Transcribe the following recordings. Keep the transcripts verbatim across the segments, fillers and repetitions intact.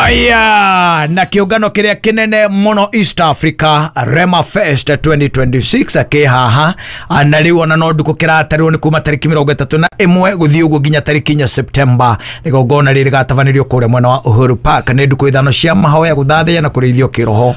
Aya, na kĩũngano kĩrĩa kĩnene mũno East Africa, Rema Fest twenty twenty-six kĩ haha. Na rĩu ona no ndukũ kĩratarirwo nĩ kuma tarĩki mĩrongo ĩtatũ na ĩmwe gũthiĩ ũguo nginya tarĩki inya Septemba. Igongona rĩrĩ rĩgatabanĩrio kũrĩa mwena wa Uhuru Park. Nĩ ndukũ ithano cia mahoya, gũthathaiya na kũrĩithio kĩroho.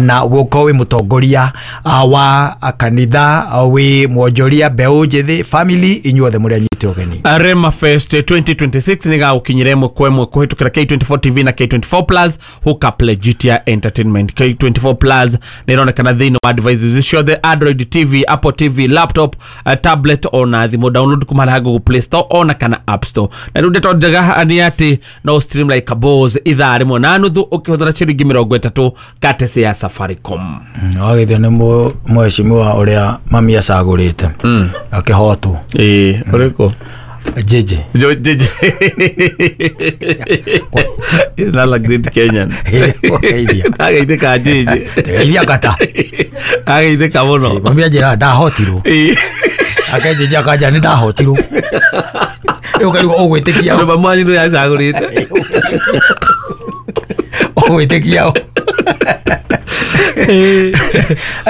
Na gũkorwo wĩ mũtongoria wa kanitha, wĩ mwonjoria, mbeũ njĩthĩ, family, inyuothe mũrĩ anyite ũgeni. Rema Fest twenty twenty-six nĩ gagũkinyĩra ĩmwe kwa ĩmwe kũhĩtũkĩra K twenty-four T V na K twenty-four Plus hookup Legitia Entertainment. K twenty-four Plus nĩ ĩronekana thĩinĩ wa devices ciothe, Android T V, Apple T V, laptop, uh, tablet ona thimũ. Download kuma harĩa Google Play Store ona kana App Store. Na rĩu ndeto njega nĩ atĩ no stream like a boss ithaa rĩmwe na nuthu ũkĩhũthĩra ciringi mĩrongo ĩtatũ katesi ya Safaricom. Wagithio nĩ mheshimiwa ũrĩa mami acagũrĩte akĩhotwo. Ĩĩ, ũrĩkũ? Jeje. Jo, J J is not a great Kenyan. Wageithia. Ndageithĩka J J. Tegeithia ngata. Ageithĩka mũno. Mami anjĩra ndahotirwo. Ĩĩ. Ake Jeje akanja nĩ ndahotirwo. Rĩu ũkarigwo ũgwĩtĩkia Andũ mamwanyu nĩ acagũrĩte. Ũgwĩtĩkia ũ?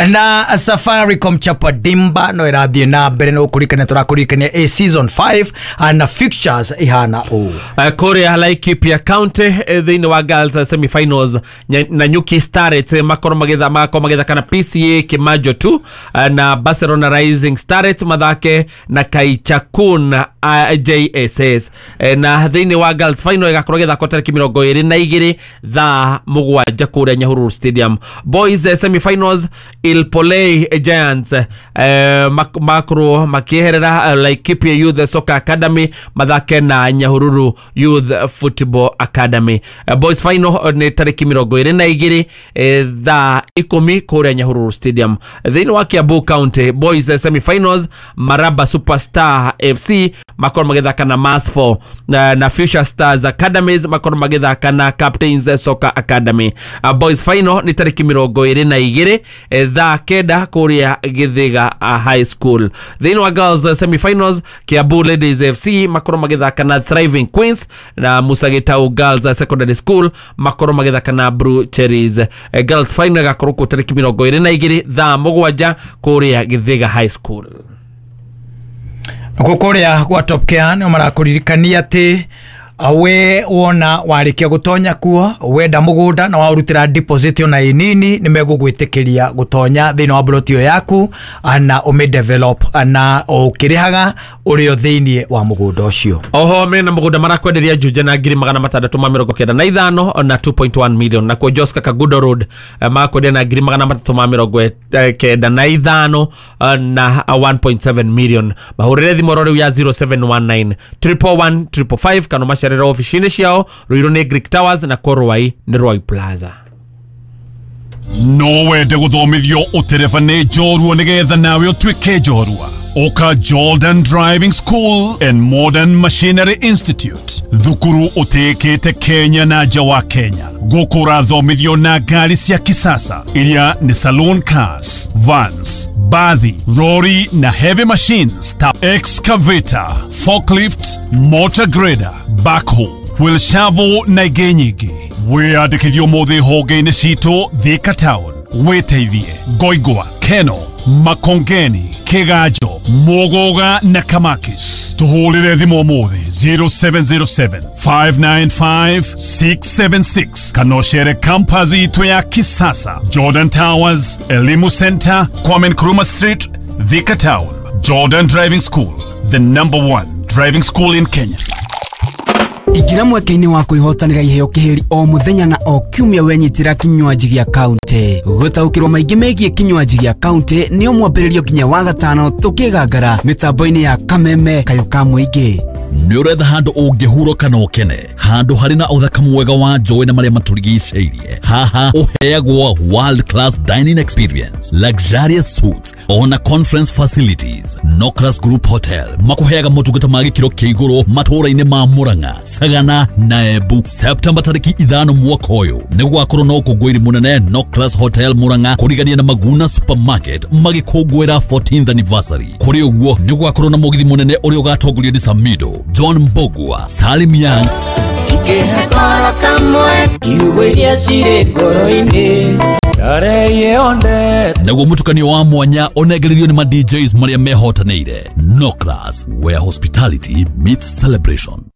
Na Safaricom Chapa Dimba no ĩrathiĩ na mbere no kũririkania, tũrakũririkania a season five na fixtures ihana ũũ. Uh, kũrĩa Laikipia County, eh, thĩinĩ wa girls eh, semifinals, Nya- Nanyuki Starlets eh, makorwo magĩtha magakorwo magĩthaka na P C A Kimajo two, eh, na Barcelona Rising Starlets mathake na Kaichakun uh, J S S. Eh, na thĩinĩ wa girls final ĩgakorwo ĩgĩthakwo tarĩki mĩrongo ĩrĩ na igĩrĩ thaa mũgwanja kũrĩa Nyahururu Stadium. Boys eh, semifinals, Ilpolei Giants eh, mak- makorwo makĩeherera eh, Laikipia Youth Soccer Academy mathake na Nyahururu Youth Football Academy. Eh, boys final eh, nĩ tarĩki mĩrongo ĩrĩ na igĩrĩ eh, thaa ikũmi kũrĩa Nyahururu Stadium. Thĩinĩ wa Kiambu County, boys eh, semifinals, Maraba Superstar F C makorwo magĩthaka na Masfo, na, na Future Stars Academies makorwo magĩthaka na Captains Soccer Academy. uh, boys final nĩ tarĩki mĩrongo ĩrĩ na igĩrĩ eh, thaa kenda kũrĩa Gĩthĩga uh, High School. Thĩinĩ wa girls eh, semifinals, Kiambu Ladies F C makorwo magĩthaka na Thriving Queens, na Musa Gitau Girls Secondary School makorwo magĩthaka na Blue Cherries. eh, girls final ĩgakorwo kuo tarĩki mĩrongo ĩrĩ na igĩrĩ thaa mũgwanja kũrĩa Gĩthĩga High School. Nakuo kũrĩa gwa Top Care nĩo marakũririkania atĩ we wona warĩkia gũtonya kuo, wenda mũgũnda na waũrutĩra deposit ona ĩ nini, nĩ megũgwĩtĩkĩria gũtonya thĩinĩ wa plot ĩyo yaku na ũmĩ develop na ũkĩrĩhaga ũrĩ o thĩinĩ wa mũgũnda ũcio. Oho mena mũgũnda marakwenderia Juja na ngiri magana matandatũ ma mĩrongo kenda na ithano na two point one million. Nakuo Joska Kagudo Road eh, marakwenderia na ngiri magana matatũ ma mĩrongo eh, kenda na ithano eh, na one point seven million. Mahũrĩre thimũ oro rĩu ya zero seven one nine one one one five five kana macerere ofici-inĩ ciao. Ruiru nĩ Greek Towers na kuo Ruai nĩ Ruai Plaza. No wende gũthomithio ũtereba nĩ njorua nĩgetha nawe ũtuĩke njorua? Ũka Jordan Driving School and Modern Machinery Institute, thukuru ũtĩĩkĩte Kenya na nja wa Kenya. Gũkũ ũrathomithio na ngari cia kisasa iria nĩ saloon cars, vans, bathi, lori na heavy machines ta excavator, forklift, motor grader, backhoe, wheel shovel na ingĩ nyingĩ. Wĩyandĩkithio ũmũthĩ honge-inĩ citũ Thika Town, wĩteithie Ngoingwa, Keno, Makongeni, Kiganjo, Muguga na Kamakis. Tuhũrĩre thimũ ũmũthĩ zero seven zero seven five nine five six seven six kana ũcere campus itũ ya kisasa, Jordan Towers, Elimu Center, Kwame Nkrumah Street, Thika Town. Jordan Driving School, the number one driving school in Kenya. Ingĩra mweke-inĩ wa kwĩhotanĩra iheo kĩhĩri o mũthenya na o kiumia wenyitĩra kinywaji gĩa kaunti. Gũtaũkĩrwo maingĩ megiĩ kinywaji gĩa kaunti nĩo mwambĩrĩrio nginya wa gatano tũkĩgangara mĩtambo-inĩ ya Kameme Kayũ ka Mũingĩ. Nĩ ũretha handũ ũngĩhurũka na ũkene, handũ harĩ na ũthaka mwega wa njũĩ na marĩa matũrigicĩirie. Haha ũheagwo world class dining experience, luxurious suites ona conference facilities. Nocras Group Hotel makũheaga motungata ma gĩkĩro kĩa igũrũ matũũra-inĩ ma Murang'a, Sagana na Embu. Septemba tarĩki ithano mwaka ũyũ nĩ gũgakorwo na ũkũngũĩri mũnene Nocras Hotel Murang'a, kũrigania na Maguna Supermarket magĩkũngũĩra fourteenth anniversary. Kũrĩ ũguo nĩ gũgakorwo na mũgithi mũnene ũrĩa ũgatongorio nĩ Samido, John Mbogua, Salim Young. Ikĩhe koro kamwe. Ciugo iria cirĩ ngoro-inĩ. Naguo mũtukanio wa mwanya ũnengererio nĩ ma D Js marĩa mehotanĩire. Nocras, where hospitality meets celebration.